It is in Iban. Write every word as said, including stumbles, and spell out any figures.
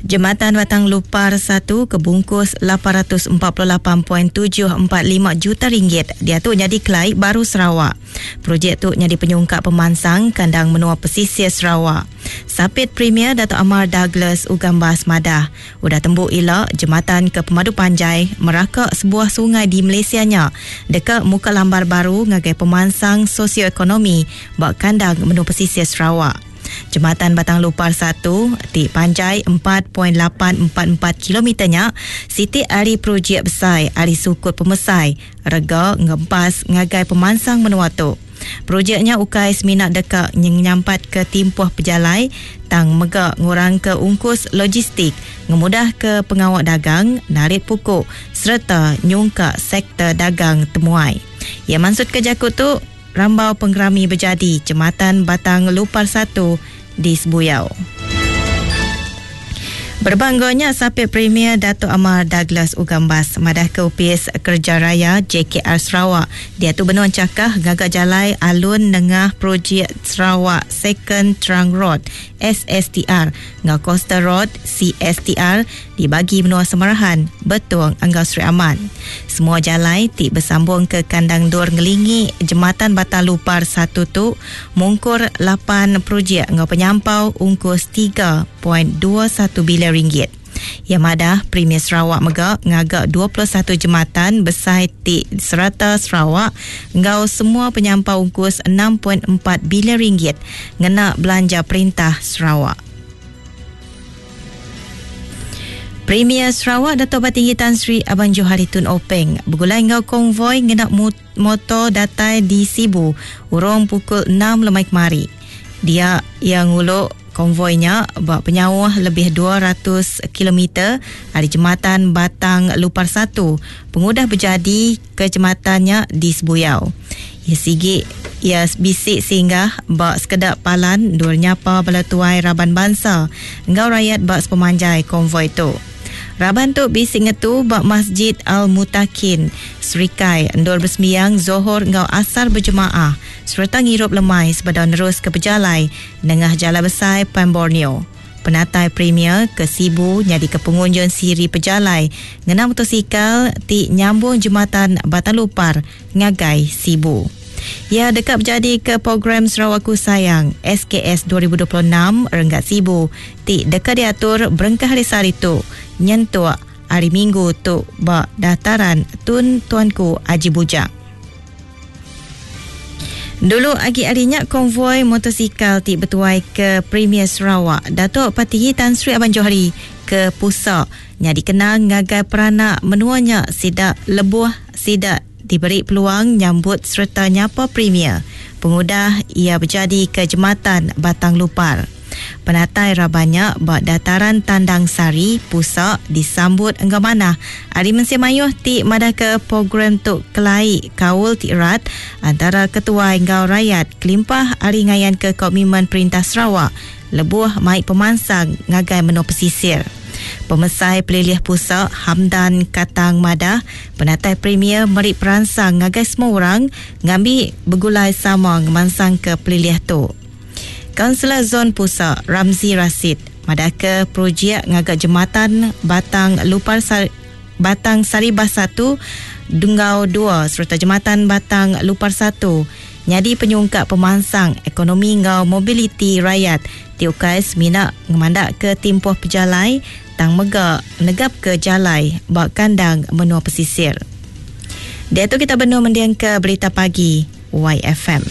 Jematan Batang Lupar satu kebungkus lapan ratus empat puluh lapan perpuluhan tujuh empat lima juta ringgit diatu jadi kelai baru Sarawak. Projek tu jadi penyungkak pemansang kandang menua pesisir Sarawak. Sapit Premier Dato' Amar Douglas Uggah Embas madah, udah tembu ila jematan ke Pemadu Panjai meraka sebuah sungai di Malaysia nya deka muka lambar baru ngagai pemansang sosioekonomi ba kandang menua pesisir Sarawak. Jematan Batang Lupar satu ti panjai empat perpuluhan lapan empat empat kilometer nya siti ari projek besai ari sukut pemesai rega ngempas ngagai pemansang menua tu. Projeknya ukai semina deka nyampat ke timpuh pejalai tang mega ngurang ke ungkus logistik, ngemudah ke pengawak dagang, narit pukuk serta nyungka sektor dagang temuai. Ia maksud ke jakut tu Rambau Penggerami berjadi Jematan Batang Lupar satu di Sebuyau. Berbangganya Sapit Premier Dato' Amar Douglas Uggah Embas madah ke Upis Kerja Raya J K R Sarawak dia tu benuan cakah gagak jalai alun nengah projek Sarawak Second Trunk Road S S T R ngau Coastal Road C S T R dibagi menua Semarahan, Betong Anggau Sri Aman. Semua jalai ti bersambung ke kandang dur ngelingi Jematan Batang Lupar satu tu mungkur lapan projek ngau penyampau ungkus tiga perpuluhan dua satu bilion ringgit. Yang madah Premier Sarawak mega ngagak dua puluh satu jematan besai ti serata Sarawak ngau semua penyampau ungkus enam perpuluhan empat bilion ringgit ngena belanja perintah Sarawak. Premier Sarawak Dato' Patinggi Tan Sri Abang Johari Tun Openg bergulai ngau konvoi ngena motor datai di Sibu urung pukul enam lemai kemari. Dia yang nguluk konvoinya buat penyauh lebih dua ratus kilometer dari Jematan Batang Lupar satu pengudah berjadi ke jematannya di Sebuyau. Ya sigi ya bisik singgah bak sekedak palan dua nyapa bala tuai raban bangsa ngau rakyat bak sepemanjai konvoi tu. Raban tu bisik ngetu bak Masjid Al-Mutakin Serikai endur bersembiang Zohor ngau asar berjemaah serta ngirup lemai sebedau nerus ke pejalai nengah Jalan Besar Pan Borneo. Penatai Premier ke Sibu nyadi ke pengunjung siri pejalai ngena motosikal ti nyambung Jematan Batang Lupar ngagai Sibu. Ia dekat berjadi ke program Sarawakku Sayang S K S dua ribu dua puluh enam Renggat Sibu ti dekat diatur berengkah hari sehari tu nyentuk hari Minggu tu bak dataran Tun Tuanku Haji Bujang. Dulu agi harinya konvoi motosikal ti bertuai ke Premier Sarawak Datuk Patinggi Tan Sri Abang Johari ke Pusak nya dikenang ngagai peranak menuanya sidak lebuh sidak diberi peluang nyambut serta nyapa Premier pengudah ia berjadi ke Jematan Batang Lupar. Penatai rabannya bak dataran Tandang Sari Pusak disambut enggau manah hari mensia mayuh ti madah ke program tuk kelai kaul ti erat antara ketua enggau rakyat kelimpah hari ngayan ke komitmen perintah Sarawak lebuh mai pemansang ngagai menua pesisir. Pemesai Pelilih Pusak Hamdan Katang Madah penatai Premier meri peransang ngagai semua orang ngambi bergulai sama ngemansang ke pelilih tu. Kaunselor Zon Pusak Ramzi Rasid madah ke projek ngagak jematan Batang Lupar Sar-, Batang Saribas satu Dunggau dua serta jematan Batang Lupar satu nyadi penyungkak pemansang ekonomi ngau mobiliti rakyat tiukai semina ngemandak ke timpuh pejalai tang mega negap ke jalai bak kandang menua pesisir. Dia tu kita benar mendiang ke berita pagi Y F M.